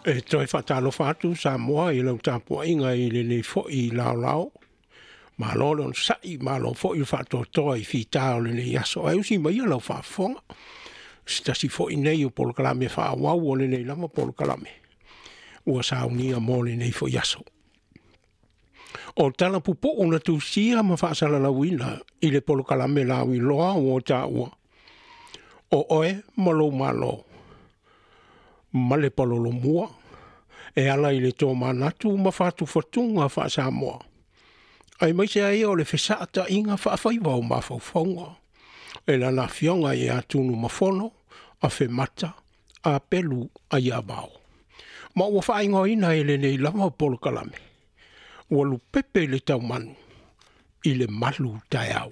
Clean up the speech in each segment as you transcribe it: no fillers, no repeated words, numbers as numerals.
E toe faatalofa atu Samoa i lau tapuaiga i lenei foi laolao. Malo le onosai, malo foi le faatoatoa i fita o lenei aso. Ae usi maia lau faafofoga. Se tasi foi nei o polokalame faaauau o lenei lava polokalame ua saunia mo lenei foi aso. O tala pupuu na tusia ma faasalalauina i le polokalame lauiloa ua taua, o oe ma lou Malo ma le palolomua e ala i le tōmanatu ma fatufatuga faa-Samoa, aemaise ai o le fesaataiga faafaiva o mafaufauga e lana afioga ia Tunumafono Afemata Apelu Aiavao. Ma ua faaigoaina e lenei lava polokalame, ua lupepe i le taumanu i le malu taeao.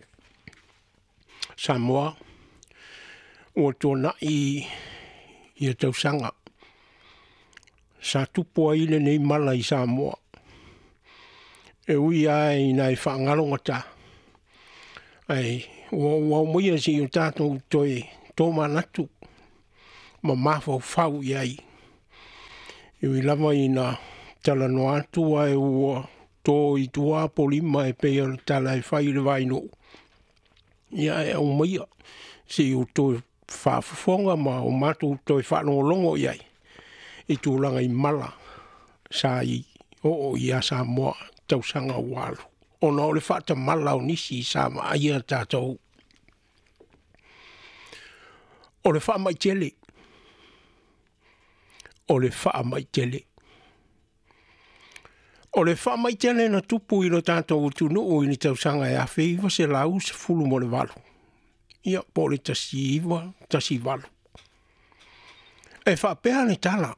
Samoa, ua tuanai ia tausaga sa tupu ai lenei mala i Samoa, e ui lava ina e faagalogata, ae ua ou aumaia seia o tatou toe tomanatu ma mafaufau i ai. E ui lava ina talanoa atu ae ua to i tua apolima e pei o le tala e fai i le vainuu, ia e aumaia seia ou toe faafofoga ma o matou toe faalogologo i ai i tulaga i mala sa i oo ia Samoa tausaga ua alu, ona o le faatamala o nisi sa vaaia tatou. O le faamai tele, o le faamai tele. O le faamai tele na tupu i lo tatou atunuu i le tausaga e 1918, ia po o le 1918. E faapea le tala,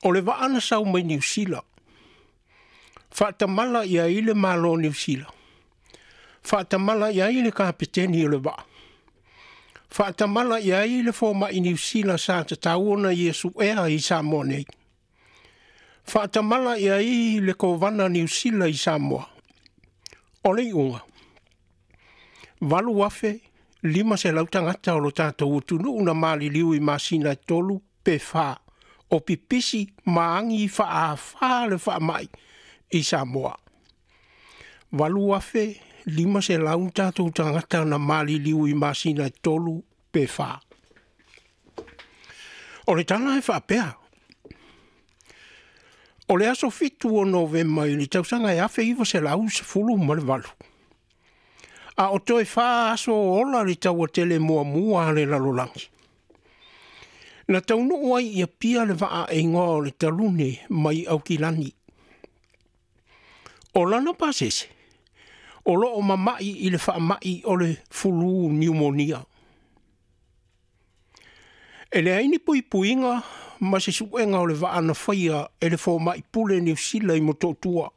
o le vaa na sau mai Niu Sila, faatamala i ai le Malo o Niu Sila, faatamala i ai le kapeteni o le vaa, faatamala i ai le fomai Niu Sila sa tatau ona ia suea i Samoa nei, faatamala i ai le kovana Niu Sila i Samoa. O le iuga, 8,500 tagata o lo tatou atunuu na maliliu i masina e 3 pe 4 o pipisi ma agi faaafā le faamai i Samoa. 8,500 tatou tagata na maliliu i masina e 3 pe 4. O le tala e faapea, o le aso 7 o Novema i le tausaga e 1918, a o toe 4 aso ola le taua tele muamua a le lalolagi, na taunuu ai i Apia le vaa e igoa o le Talune mai Aukilani. O lana pasese, o loo mamai i le faamai o le fulu niumonia. E leai ni puipuiga ma se suega o le vaa na faia e le fomai pule Niu Sila i Motootua.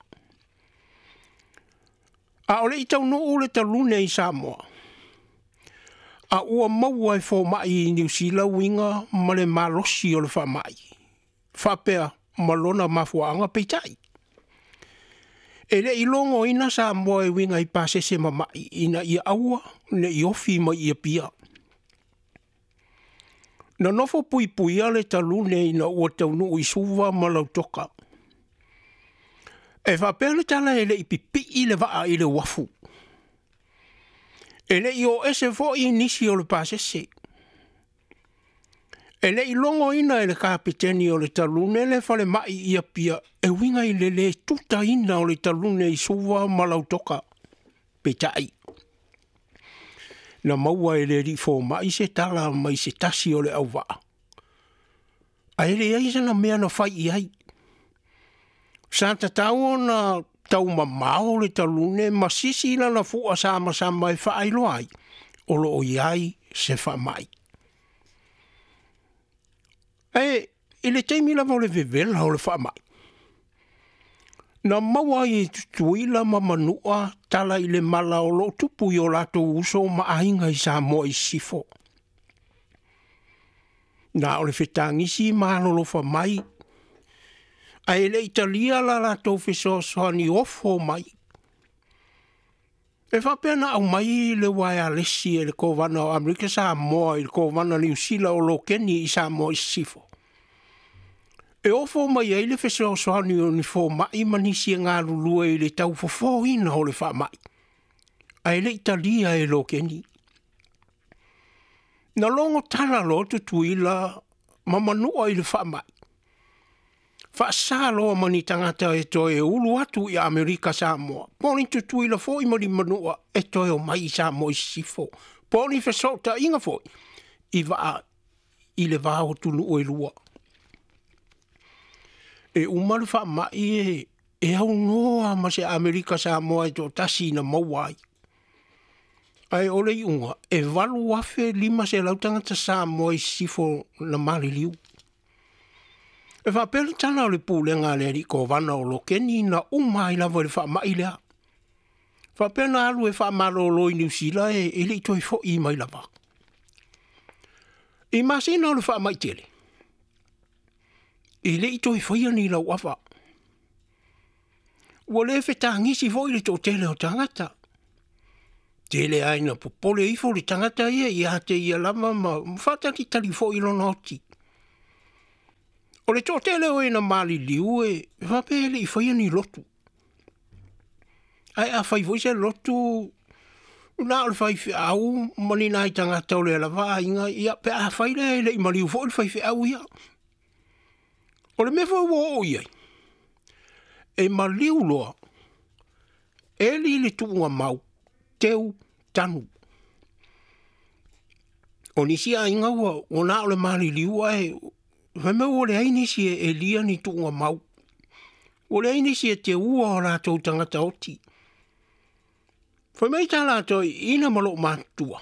A o le i taunuu le Talune i Samoa, a ua maua e fomai i Niu Sila uiga ma le malosi o le faamai, faapea ma lona mafuaaga peitai. E le i logoina Samoa e uiga i pasese mamai ina ia aua ne i ofi mai i Apia. Na nofo puipuia le Talune ina ua taunuu i Suva ma Lautoka. E faapea le tala e le i pipii le vaa i le uafu. E le i o ese foi nisi o le pasese. E le i logoina e le kapeteni o le Talune le falemai i Apia e uiga i le lē tutaina o le Talune i Suva ma Lautoka. Peitai, na maua e le alii fomai se tala mai se tasi o le auvaa, ae leai sana mea na fai i ai. Sa tatau ona taumamao le Talune ma sisi lana fua samasama e faailoa ai o loo i ai se faamai. E i le taimi lava o le vevela o le faamai, na maua ai e Tutuila ma Manua tala i le mala o loo tupu i o latou uso ma aiga i Samoa i Sisifo. Na o le fetagisi ma alolofa mai, ae le i talia la latou fesoasoani ofo mai. E faapea na aumai le uaealesi e le kovana o Amerika Samoa i le kovana Niu Sila o Lokeni i Samoa i Sisifo. E ofo mai ai le fesoasoani o ni foma'i ma nisi e galulue i le taufofoina o le faama'i, ae le i talia e Lokeni. Na logo tala loa Tutuila ma Manua i le faama'i, faasa loa ma ni tagata e toe ulu atu i Amerika Samoa, po o ni Tutuila foi ma ni Manua e toe omai i Samoa i Sisifo, po o ni fesootaiga foi i vaa i le va o atunuu e lua. E uma le faama'i e aunoa ma se Amerika Samoa e toatasi na maua ai. Ae o le iuga, e 8,500 tagata Samoa i Sisifo na maliliu. E faapea le tala o le pulega a le alii Kovana o Lokeni na uma ai lava i le faama'i lea. Faapea na alu e faamalolo i Niu Sila e le i toe fo'i mai lava. I masina o le faama'i tele, e le i toe faia ni lauava. Ua le fetagisi foi le toatele o tagata. Tele ai na popole ifo le tagata ia ia te ia lava ma faatalitali foi lona oti. O le toatele o e na maliliu e faapea e le i faia ni lotu. Ae a fai foi se lotu, na o le faifeau ma ni nai tagata o lea lava aiga, ia pe a fai lea e le i maliu foi le faifeau ia. O le mea foi ua oo i ai, e maliu loa, eli le tuugamau, teu tanu. O nisi aiga ua na o le maliliu ae fai mai ua leai nisi e elia ni tuugamau. Ua leai nisi e teua o latou tagata oti. Fai mai tā latou ina ma loo matutua.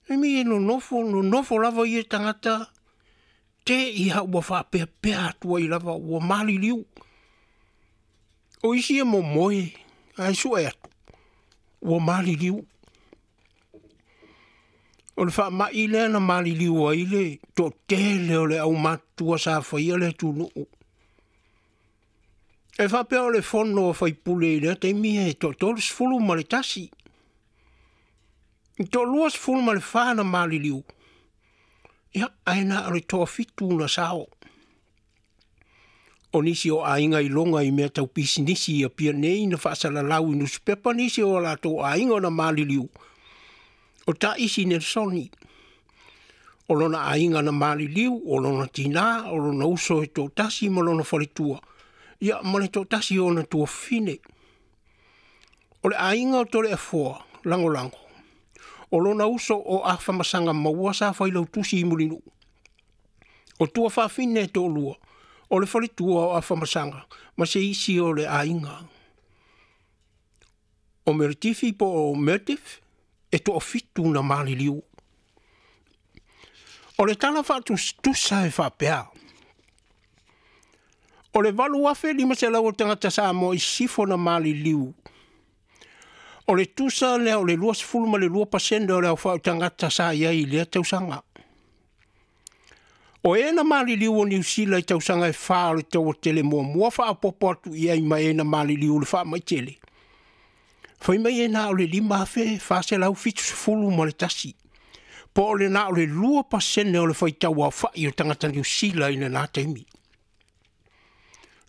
Fai mai e nonofo, nonofo lava ia tagata, te ia ua faapeapea atu ai lava, ua maliliu. O isi e momoe, ae sue atu, ua maliliu. O le faama'i lea na maliliu ai le toatele o le aumatutua sa faia le atunuu. E faapea o le fono a faipule i lea taimi e 31. I 24 na maliliu, ia ae na o le 7 na sao. O nisi o aiga i loga i mea tau pisinisi i Apia nei na faasalalau i nusipepa nisi o latou aiga na maliliu. O Taisi Nelsoni, o lona aiga na maliliu, o lona tina, o lona uso e toatasi ma lona faletua, ia ma le toatasi o ona tuafafine. O le aiga o Toleafoa, Lagolago, o lona uso o Afamasaga maua sa failautusi i Mulinuu. O tuafafine e toalua, o le faletua o Afamasaga ma se isi o le aiga. O Meritifi po o Mertif, e 7 na maliliu. O le tala faatusatusa e faapea. O le 8,500 o tagata Samoa i Sisifo na maliliu. O le tusa lea o le 22% o le aofai o tagata sa i ai i lea tausaga. O e na maliliu o Niu Sila i tausaga e 4 o le taua tele muamua faaopoopo atu i ai ma e na maliliu i le faama'i tele. Fai mai e na o le 5,471. Po o le na o le 2% o le faitau aofai o tagata Niu Sila i lena taimi.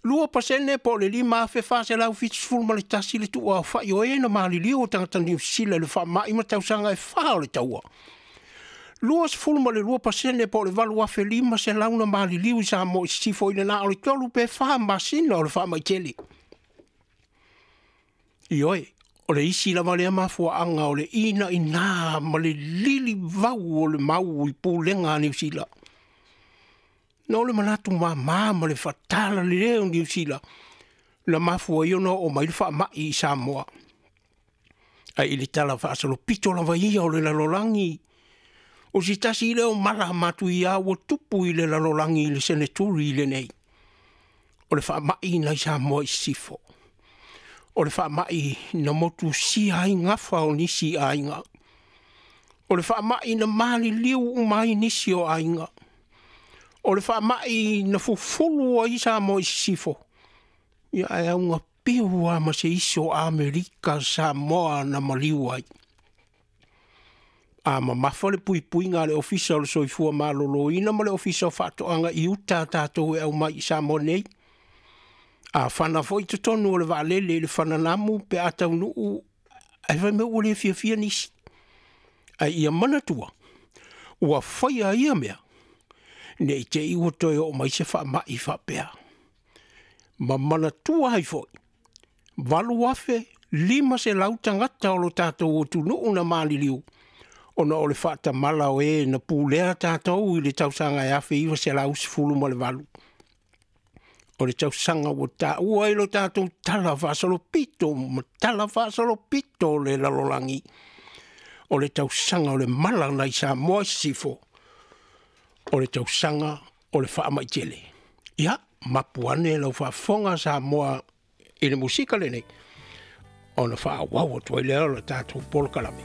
2% po o le 5,471 le tuuaofai o e na maliliu o tagata Niu Sila i le faama'i ma tausaga e 4 o le taua. 22% po o le 8,500 na maliliu i Samoa i Sisifo i le na o le 3 pe 4 masina o le faama'i tele. Ioe, o le isi lava lea mafuaaga o le inaina ma le lilivau o le mau i pulega a Niu Sila. Na o le manatu māmā ma le fatala lelei o Niu Sila na mafua ai ona oo mai le faama'i i Samoa. Ae i le tala faasolopito lava ia o le lalolagi, o se tasi lea o mala matuia ua tupu i le lalolagi i le seneturi lenei. O le faama'i nai Samoa i Sisifo. O le faama'i na motusia ai gafa o nisi aiga. O le faama'i na maliliu uma ai nisi o aiga. O le faama'i na fufulu ai Samoa i Sisifo. Ia ae auga piu lava ma se isi o Amerika Samoa na maliu ai. A mamafa le puipuiga a le Ofisa o le Soifua Maloloina ma le Ofisa o Faatoaga i uta a tatou e aumai i Samoa nei. A fana foi totonu o le vaalele i le fananamu pe a taunuu, ae fai mai ua le fiafia nisi. Ae ia manatua, ua faia ia mea, ne i te i ua toe oo mai se faamai faapea. Ma manatua ai foi, 8,500 tagata o lo tatou atunuu na maliliu, ona o le faatamala o e na pulea tatou i le tausaga e 1918. O le tausaga ua taua ai lo tatou tala faasolopito ma tala faasolopito o le lalolagi. O le tausaga o le mala nai Samoa i sisifo, o le tausaga o le faamaitele. Ia, mapu ane lau faafofoga Samoa i le musika lenei, ona faaauau atu ai lea o le tatou polokalame.